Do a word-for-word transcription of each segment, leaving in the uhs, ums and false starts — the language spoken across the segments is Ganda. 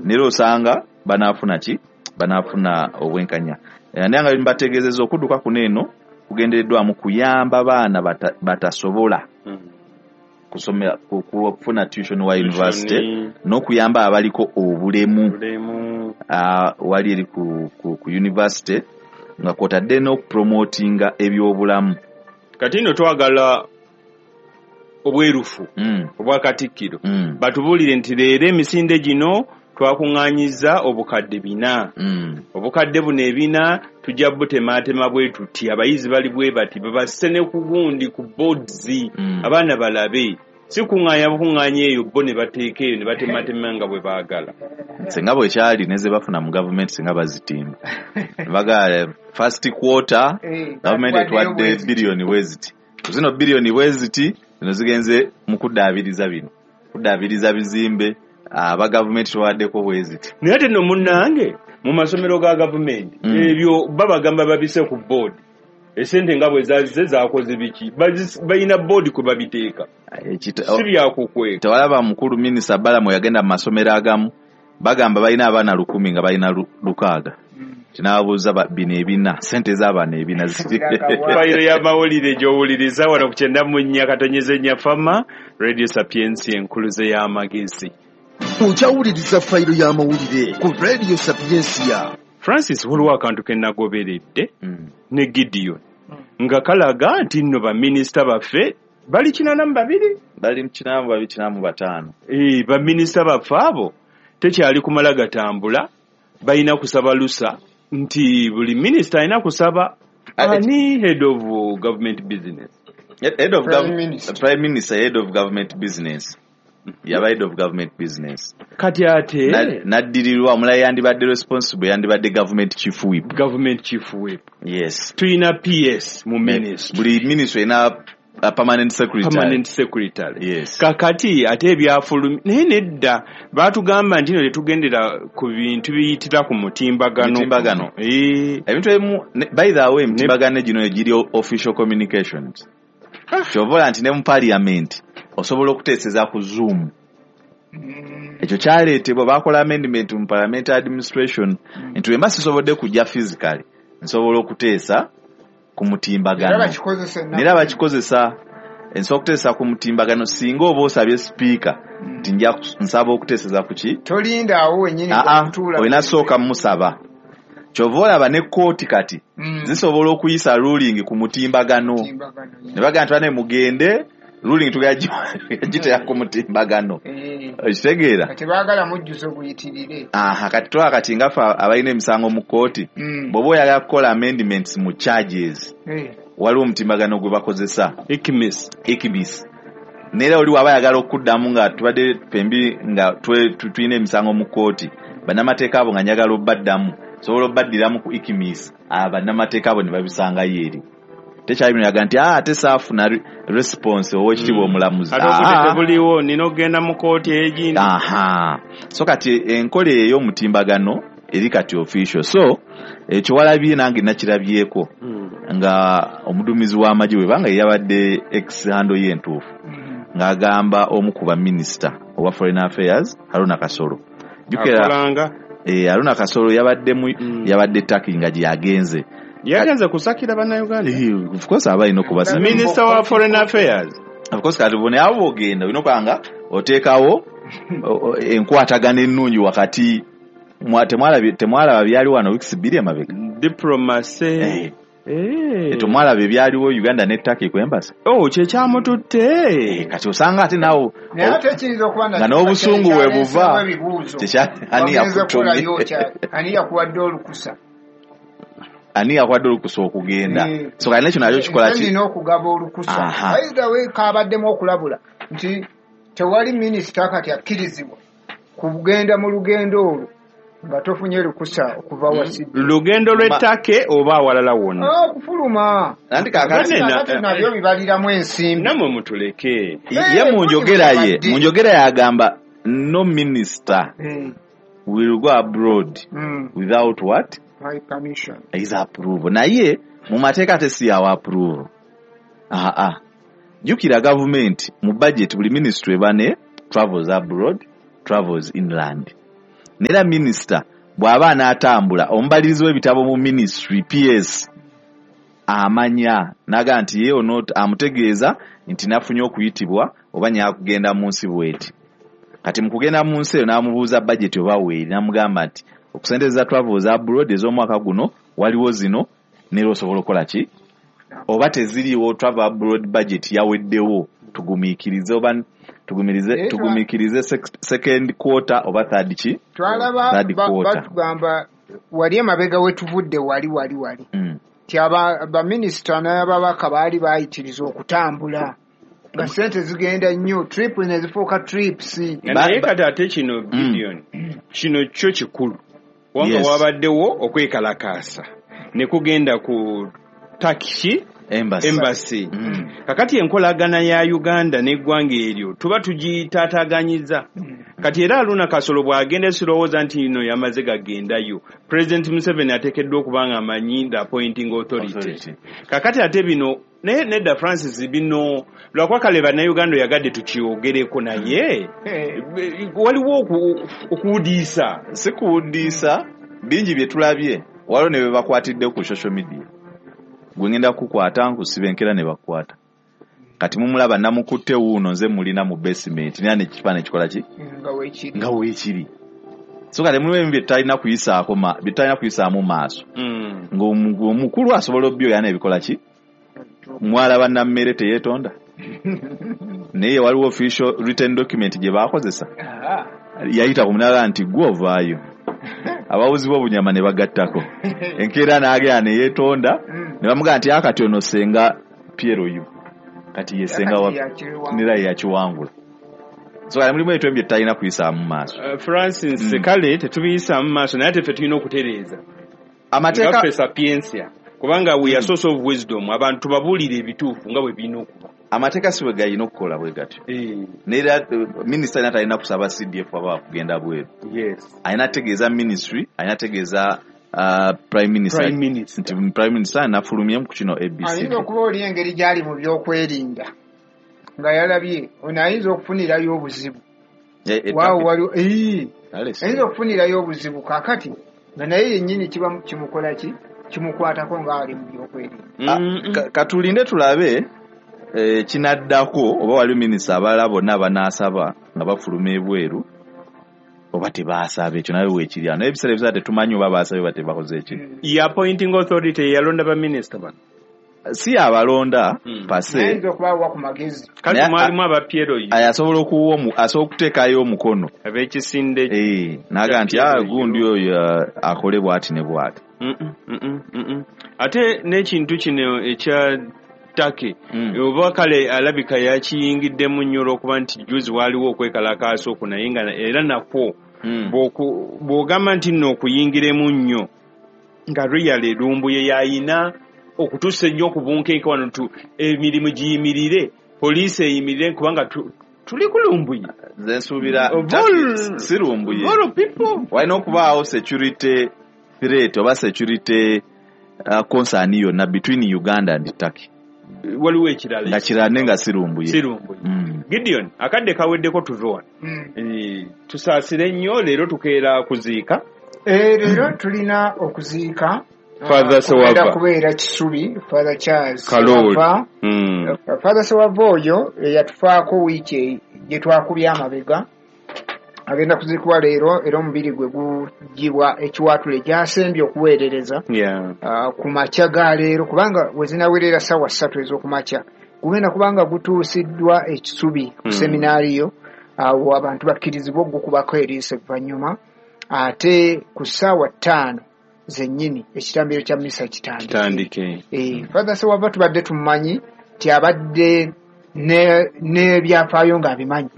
Nera osanga banaafuna ki? Banaafuna obwenkanya. Eh, naye nga mbategeezezza, okudduka kuno eno kugendereddwamu kuyamba baana bata- batasobola kusomera ku- kufuna tuition wa university n'okuyamba abaliko obulemu Bulemu. ah, wali eri ku, ku, ku university, nga kwotadde n'okupromotinga ebyobulamu. Kati nno twagala obwerufu mm, obwa Katikkiro mm, batubuulire nti leero emisinde gino twakuŋŋaanyizza obukadde bina, mm. obukadde buno ebina tujja butematema bwe tuti, abayizi bali bwe bati, babasse ne ku gundi ku boards, Mm. abaana balabe, si kuŋŋaanya bukuŋŋaanya eyo bo ne bateeka eyo ne batematema nga bwe baagala. Singa bwe kyali ne ze bafuna mu gavumenti, singa bazitimba baga first quarter Eh, gavumenti batuwaddeyo etwadde bwe ziti. Biliyoni bwe ziti, zino biliyoni bwe ziti zino zigenze mu kuddaabiriza bino, kuddaabiriza bizimbe, aba gavumenti twawaddeko bwe ziti. Naye ate nno munnange, mu masomero ga gavumenti Mm. ebyo babagamba babise ku board, esente nga bwe zazize zakoze biki. Bazis- balina board kwe babiteeka. Ekita- Si byakukweka. Tewalaba mukulu Minisita Balamu yagenda mu masomero agamu, bagamba balina abaana lukumi nga balina lu- lukaaga. Kinababuuza ba- bino ebina, sente z'abaana ebina ziri Fayiro y'amawulire gy'owuliriza wano ku kyenda mu nnya katonyeza ennya Fama Radio Sapiensi, enkuluze y'amagezi. Okyawuliriza Fayiro y'amawulire ku Radio Sapiensia. Francis, waliwo akantu ke nagoberedde Mm. ne Gideon nga kalaga nti nno baminisita baffe bali kinaana mu babiri. Bali mu kinaana mu babiri, kinaana mu bataano. Eh, baminisita baffe abo tekyali kumala gatambula, balina kusaba lusa, nti buli minisita alina kusaba. Ate- Ani head of government business? Head of Prime gov- Minister. Prime Minister, head of government business, yaba head of government business. Kati ate Na- naddirirwa omulala yandibadde responsible, yandibadde government chief whip. Government chief whip. Yes. Tulina P S mu ministry. Buli ministry erina a permanent secretary. Permanent secretary. Yes. Kakati ate ebyafulumi naye nedda baatugamba nti no tetugendera ku bintu biyitira ku mutimbagano. Mutimbagano. Eh, ebintu ebimu ne- by the way, emitimbagano gino egiri official communications, kyova olaba nti ne mu parliament osobola okuteeseza ku Zoom. Ekyo kyaleetebwa, bakola amendment mu parliamentary administration nti wemba sisobodde kujja physically, nsobola okuteesa ku Era mutimbagano. bakikozesa ennaku. Nera bakikozesa, nsobola okuteesa ku mutimbagano singa oba osabye sipiika nti nja kus- nsaba okuteeseza ku ki. Tolinda awo wennyini Aa, okutuula. Olina sooka musaba. Kyova olaba ne kooti kati Mm. zisobola okuyisa ruling ku mutimbagano. Mutimbagano, yeah. Ne bagamba nti bane mugende, ruling tugagiteera ku mutimbagano. Eh, okitegeera? Kati baagala mujjuzo guyitirire. Aha, kati twala kati nga ffe abalina emisango mu kooti, Mm. bw'oba oyagala kukola amendments mu charges, Eh, waliwo omutimbagano gwe bakozesa. ICMIS. ICMIS. Neera oli waba ayagala okuddamu, nga tubadde fembi nga twe- tu- tulina emisango mu kooti, bannamateeka abo nga njagala obbaddamu, sobola obbaddiramu ku ICMIS, bannamateeka abo ne babisangayo eri. Tekyali bino yaga nti, "Ah, ate saafuna re- response, owekitiibwa omulamuzi." Ate obudde Ah. tebuliwo, nina okugenda mu kooti egindi. Aha, so kati enkola ey'omutimbagano eri kati official. So ekyo walabye, nange nakirabyeko Mm. nga omuduumizi w'amagye bwe banga yabadde ex handle ye entuufu, mm. ng'agamba omu ku baminisita owa foreign affairs, Haruna Kasolo. Jjukira Akolanga eh, Haruna Kasolo yabadde mu Mm. yabadde Turkey nga gye yagenze. Yagenze kusakira Bannayuganda. Eh, of course aba alina okubasa. Minister wa foreign affairs. Of course, kati bone abo ogenda olina okuba nga oteekawo o- o- enkwatagana ennungi wakati mwa- temwalabye- temwalaba byali wano wiikisi bbiri emabega? Diplomacy. Eh, Eh. temwalaba ebyaliwo Uganda ne Turkey ku embassy? Oh, kyekyamututte. Eh, kati osanga ate naawe Naye ate kiyinza okuba nga n'obusungu bwe buva. ebibuuzo. Tekya- ani Wagenze yakutumye? kukolayo kya- ani yakuwadde olukusa? Ani yakuwadde olukusa okugenda? Eh. So kati nekyo nakyo kikola Nze ki? nina okugaba olukusa. Aha. By the way, kabaddemu okulabula nti tewali minisita kati akkirizibwa kugenda mu lugendo olwo nga tofunye lukusa okuva wasidde. Lugendo lw'ettake oba awalala wonna? Okufuluma. Anti kakati Bane- Kakati nabyo bibaliramu ensimbi. Nammwe mutuleke. Ye mu njogera ye mu njogera yagamba no minister Eh, will go abroad mm, without what? My permission. His approval. Naye mu mateeka ate si yawa approval. Aa, jjukira gavumenti mu budget buli ministry eba ne travels abroad, travels inland. Nera minisita bw'aba anaatambula omubalirizi w'ebitabo mu ministry P S amanya naga nti ye ono amutegeeza nti nafunye okuyitibwa oba nyakugenda mu nsi bweti. Kati mu kugenda mu nsi eyo n'amubuuza budget oba weeri, n'amugamba nti okusenteza travels abroad ez'omwaka guno waliwo zino nera osobola okukola ki oba teziriiwo travel abroad budget yaweddewo tugumiikirize oba tugumirize tugumiikirize second quarter oba third ki twalaba batugamba wali emabega we tuvudde wali wali wali mm. Ti aba baminisita n'ababaka baali bayitiriza okutambula nga ssente zigenda nnyo trip ne zifuuka trips. Naye kati ate kino Gideon kino kyo kikulu wanga wabaddewo okwekalakaasa ne kugenda ku Turkish embassy, embassy. Mm. Kakati enkolagana ya Uganda n'eggwanga eryo tuba tugitaataganyiza. Mm. Kati era Haruna Kasolo bw'agenda sirowooza nti ino yamaze gagendayo. President Museveni ateekeddwa okuba nga amanyi the appointing authority. authority. Kakati ate bino naye nedda Francis bino lwakuba kale bannayuganda oyagadde tukyogereko naye hey. Waliwo okuwudiisa. Si kuwudiisa bingi bye tulabye waliwo ne bye bakwatidde ku social media. Gwe ngenda kukwata nkusiba enkera ne bakwata. Kati mumulaba namukutte wuuno nze mulina mu basement nina n'ekifaananyi kikola ki nga weekiri nga weekiri. So kale mulimu ebintu bye tutalina kuyisaako bye tutalina kuyisaamu maaso mm. Ng'omukulu asobola obbyoya n'ebikola ki mwalaba nammere teyeetonda naye waliwo official written document gye baakozesa yayita ku munala nti gwe ovaayo abawuzi b'obunyama ne bagattako enkeera n'agenda ne yeetonda ne bamugamba nti akati ono senga Piero yu kati ye senga wa nira yakiwangula. So kale mulimu ebintu bye tutalina kuyisaamu maaso. Uh, Francis mm. Kale tetubiyisaamu maaso naye ate ffe tulina okutereeza amateeka ffe sapientia kubanga we are source of wisdom abantu tubabuulire ebituufu nga bwe birina okuba. Amateeka si bwe galina okukola bwe gatyo. Eh. Nera minisita alina talina kusaba C D F aba kugenda bweru. Yes. Alina ategeeza ministry, alina ategeeza uh, prime minister. Prime minister. Nti prime minister anafulumye ku kino A B C. Ayinza okuba oli engeri gy'ali mu by'okwerinda nga yalabye ono ayinza okufunirayo obuzibu. Waawo waliwo ayinza okufunirayo obuzibu kaakati nga naye yennyini kiba kimukola ki kimukwatako ng'ali mu by'okwerinda. Katulinde tulabe eh, kinaddako oba waliwo minisita abalala bonna banaasaba nga bafuluma ebweru oba tebaasaba ekyo nawe weekiri ano. Naye ebiseera ebiseera tetumanyi oba baasabye oba tebakoze eki. Ye appointing authority yalonda baminisita bano si abalonda mm. pase ayinza okubawa ku magezi. Kati mwalimu aba Piero asobola okuwa asobola okuteekayo omukono ab'ekisinde eh, n'agamba nti gundi oyo akole bw'ati ne bw'ati. Mm -mm, mm -mm. Ate n'ekintu kino ekya Turkey mm. Oba kale alabika yakiyingiddemu nnyo olw'okuba nti juzi waaliwo okwekalakaasa okwo naye nga era nakwo mm. bw'ogamba nti nno okuyingiremu nnyo nga real Lumbuye yayina okutuusa ennyo ku bunkenke wano tu emirimu giyimirire poliisi eyimirire kubanga tuli ku Lumbuye. Nze nsuubira si Lumbuye walina okubaawo security threat oba security uh, concern yonna between Uganda and Turkey. Waliwo ekirala nga kirala naye nga si Lumbuye. Si Lumbuye. Mm. Gideon akadde kaweddeko tuve wano. Mm. E, tusaasire nnyo leero tukeera kuziika. E, leero tulina okuziika Father Sewava kubeera Kisubi Father Charles Kaloli. Mm. Father Sewava oyo yatufaako wiiki gye twakubye amabega agenda kuziikibwa leero era omubiri gwe gugibwa ekiwaatule gyasembye okuweerereza yeah. uh, ku makya ga leero kubanga we zinawerera ssaawa ssatu ez'okumakya gugenda kubanga gutuusiddwa ekisubi ku mm. seminaariyo awo abantu bakkirizibwa ogukubako eriiso evvannyuma ate ku ssaawa ttaano zennyini ekitambiro kya misa kitandike. Eh, Father Sewava tubadde tumumanyi nti abadde n'ebyafaayo ng'abimanyi.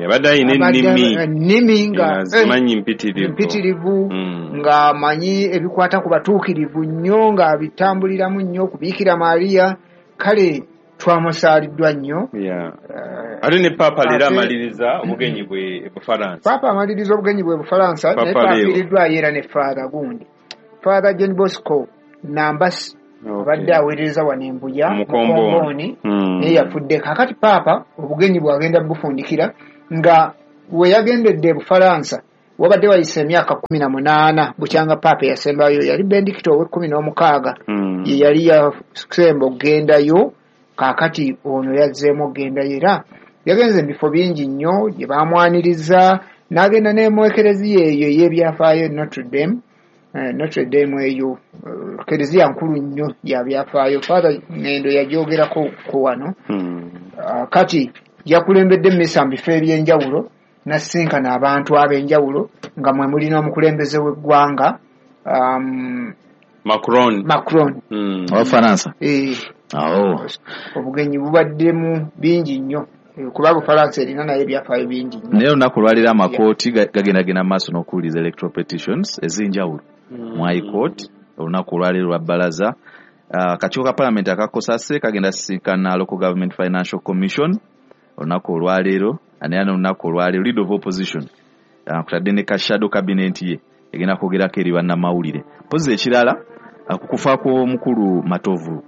Abadde alina ennimi ennimi nga azimanyi mpitirivu mpitirivu ng'amanyi ebikwata ku batuukirivu nnyo ng'abitambuliramu nnyo ku Biikira Maria kale twamusaaliddwa nnyo. Ate ne Paapa leero amaliriza obugenyi bwe Bufalansa. Paapa amaliriza obugenyi bwe Bufalansa naye twafiiriddwayo era ne Father gundi Father John Bosco Nambasi abadde aweereza wano e Mbuya Mukomboni naye yafudde. Kaakati Paapa obugenyi bw'agenda bufundikira nga we yagendedde e Bufalansa Wabadde wayise emyaka kkumi na munaana bukyanga Paapa yasembayo, yali Benedicto ow'ekkumi n'omukaaga, Mm. ye yali yasemba okugendayo. Kaakati ono yazzeemu okugendayo, era yagenze mu bifo bingi nnyo gye baamwaniriza, n'agenda ne mu ekereziya eyo ey'ebyafaayo Notre Dame. Eh, Notre Dame eyo eh, kereziya nkulu nnyo ya byafaayo. Father Ngendo yagyogerako ko wano. Mm. Ah, kati yakulembedde mmisa mu bifo eby'enjawulo, n'asisinkana abantu ab'enjawulo nga mwe muli n'omukulembeze w'eggwanga um, Macron. Macron. Mm. Abafaransa. Eh, awo obugenyi bubaddemu bingi nnyo. Eh, kuba Bufalansa erina nayo ebyafaayo bingi nnyo. Naye olunaku olwaleero amakooti ga- gagendagenda mu maaso n'okuwuliriza electoral petitions ez'enjawulo mu High Court. Olunaku olwaleero lwa bbalaza, Ah, akakiiko ka parliament akakosase kagenda sisinkana Local Government Financial Commission olunaku olwaleero. Naye n'olunaku olwaleero leader of opposition, ah, kutadde ne ka shadow cabinet ye, egenda kwogerako eri bannamawulire. Mpozi ekirala, ah, ku kufa kw'omukulu Matovu,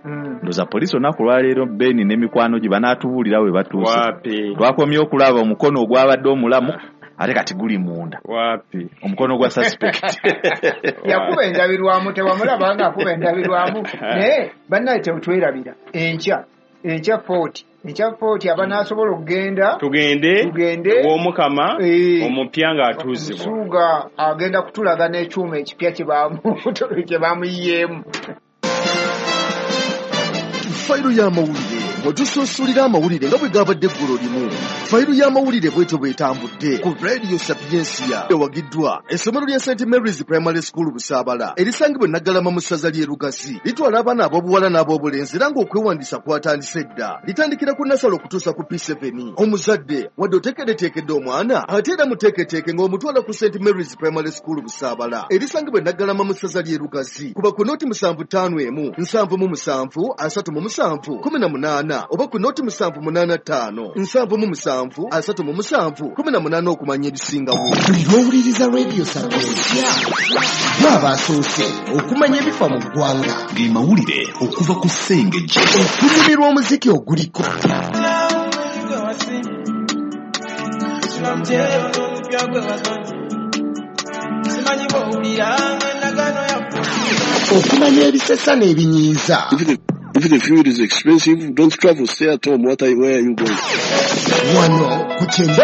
Mm. ndowooza poliisi olunaku olwaleero Beni n'emikwano gye banaatubuulira we batuuse. Wapi? Twakomye okulaba omukono ogwabadde omulamu, ate kati guli munda. Wapi? Omukono gwa suspect. Yakuba endabirwamu, tewamulaba nga akuba endabirwamu? Naye bannaye tetwerabira, enkya enkya Fort, enkya Fort abanaasobola okugenda, Tugende. Tugende. Ew'Omukama Eh. omupya ng'atuuzibwa. Musuuga agenda kutulaga n'ekyuma ekipya kye bamu- kye bamuyiyeemu. Fayiro y'amawulire, mwe tusuusulira amawulire nga bwe gabadde eggulo limu. Fayiro y'amawulire bwetyo bwetambudde ku Radio Sapiensia, ewagiddwa essomero lya Saint Mary's Primary School Busaabala, erisangibwa e Naggalama mu ssaza ly'e Lugazi. Litwala abaana ab'obuwala n'ab'obulenzi, era ng'okwewandiisa kwatandise dda. Litandikira ku nursery okutuusa ku P seven. Omuzadde wadde oteekeddeteekedde omwana, ate era muteeketeeke ng'omutwala ku Saint Mary's Primary School Busaabala, erisangibwa e Naggalama mu ssaza ly'e Lugazi. Kuba ku noti musanvu ttaano emu nsanvu mu musanvu asatu mu musanvu kumi na munaana, oba ku noti musanvu munaana ttaano nsanvu mu musanvu asatu mu musanvu kumi na munaana okumanya ebisingawo. Buli lw'owuliriza Radio Sapiensia, bw'aba asoose okumanya ebifa mu ggwanga, ge mawulire okuva ku Ssengejje, okunyumirwa omuziki oguliko, Gwe wasimba sula mutyeyo n'omupya gwe wasonye, simanyi bw'owulira endagaano yaffe. Okumanya ebisesa n'ebinyiiza. If the, if the fuel is expensive, don't travel, stay at home. What are, where are you going? Wano ku kyenda.